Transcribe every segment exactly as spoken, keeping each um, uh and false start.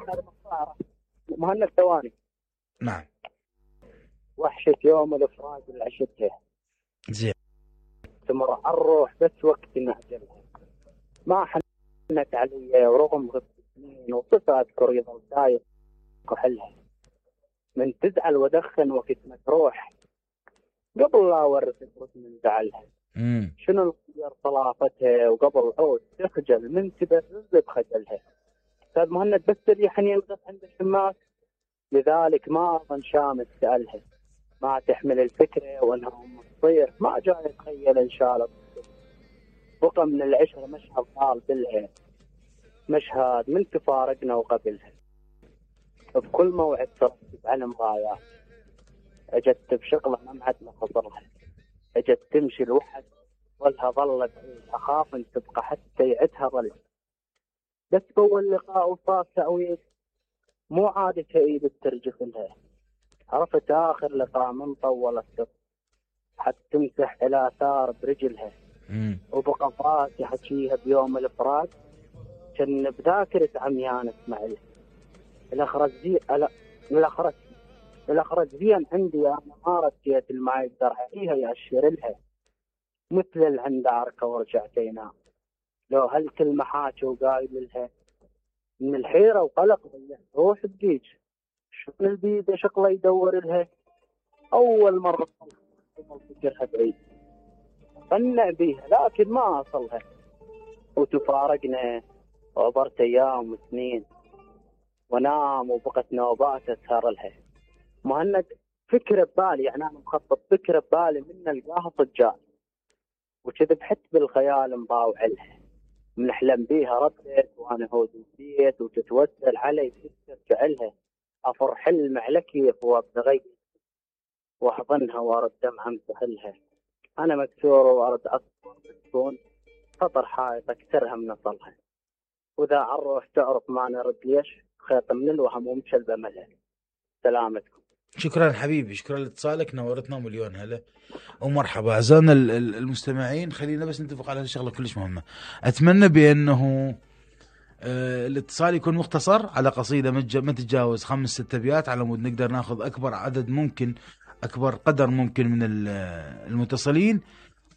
لك هذا مقطع مهند ثواني. نعم. وحشة يوم الافراج اللي عشتها. زين. تمر على الروح بس وقت نعجلها. ما حنت علي ورغم غبت سنين وصفة اذكر يظل دايق كحلها. من تزعل ودخن وقت ما تروح قبل لا ورثت من زعلها. امم شنو الغير طلافتها وقبل عود تخجل من تبرز بخجلها. استاذ مهند بس اللي حنين ينقص عند الشماس لذلك ما اظن شامس سالها. ما تحمل الفكره وانها ام تصير ما جاي اتخيل ان شاء الله. بقى من العشره مشهد طال بالها. مشهد من تفارقنا وقبلها. بكل موعد ترتب على مغايات. اجت بشغله ما معد ما خطرها. اجت تمشي الوحد ولها ظلت اخاف ان تبقى حتى يعدها ظل. بس بول لقاء وصار تأويل مو عادة ايد ترجف لها. عرفت اخر لقاء من طولت السر حتى تمسح الى اثار برجلها. امم وبقى فراسي حكيها بيوم الافراج كان بذاكرة عميان اسمع لها. الاخرج زي الاخرج الاخرج زين عندي انا ما رديت ما يقدر عليها ياشر لها. مثل العنداركه ورجعتينا لو هالكلمه حاكي وقايل لها. من الحيره وقلق ضيعت روح بجيج. شو البيد شغله يدور لها. اول مره فكرها بعيد قنع بيها لكن ما اصلها. وتفارقنا وعبرت ايام وسنين ونام وبقت نوبات اسهر لها. مهند فكره ببالي يعني انا مخطط فكره ببالي من القاها صجال وكذب حت بالخيال مضاوع لها. بنحلم بيها ردت وانا هود البيت وتتوسل علي ترجع لها. افر حلم على كيف وابتغي واحضنها وارد دمعه امسحلها. انا مكسور وارد اصبر تكون خطر حائط اكثرها من اصلها. واذا عالروح تعرف ما نرد ليش خيط من الوهم ومشل بملها. سلامتكم. شكرا حبيبي، شكرا لاتصالك، نورتنا مليون هلا ومرحبا. اعزائنا المستمعين، خلينا بس نتفق على شغله كلش مهمه. اتمنى بانه آه الاتصال يكون مختصر على قصيده ما تتجاوز خمس ست ابيات على مود نقدر ناخذ اكبر عدد ممكن، اكبر قدر ممكن من المتصلين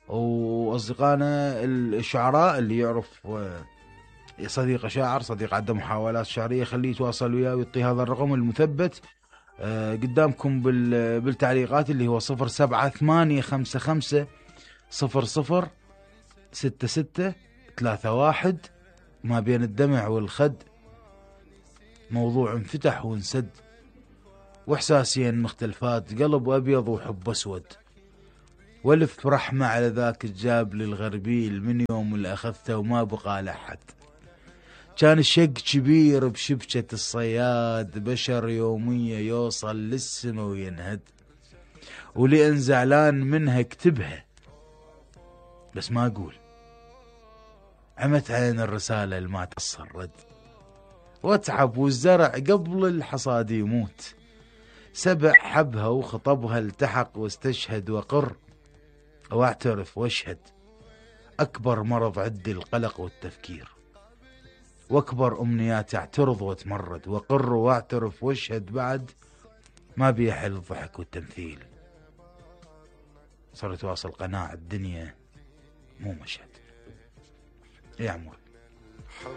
واصدقائنا الشعراء اللي يعرف صديق شاعر، صديق عنده محاولات شعريه، خليه يتواصل وياه ويعطي هذا الرقم المثبت آه قدامكم بالتعليقات اللي هو صفر سبعة ثمانية خمسة خمسة صفر صفر ستة ستة ثلاثة واحد. ما بين الدمع والخد موضوع انفتح وانسد، واحساسين مختلفات، قلب ابيض وحب اسود، والف رحمة على ذاك الجاب للغربيل من يوم اللي اخذته وما بقى لحد. كان الشق كبير بشبكة الصياد، بشر يومية يوصل للسما وينهد، ولأن زعلان منها اكتبها بس ما اقول. عمت عين الرسالة اللي ما تصل رد، واتعب والزرع قبل الحصاد يموت. سبع حبها وخطبها التحق واستشهد، وقر واعترف واشهد. اكبر مرض عندي القلق والتفكير، واكبر امنياتي اعترض واتمرد، وقر واعترف واشهد بعد ما بيحل الضحك والتمثيل. صرت واصل قناع الدنيا مو مشهد. يا عمور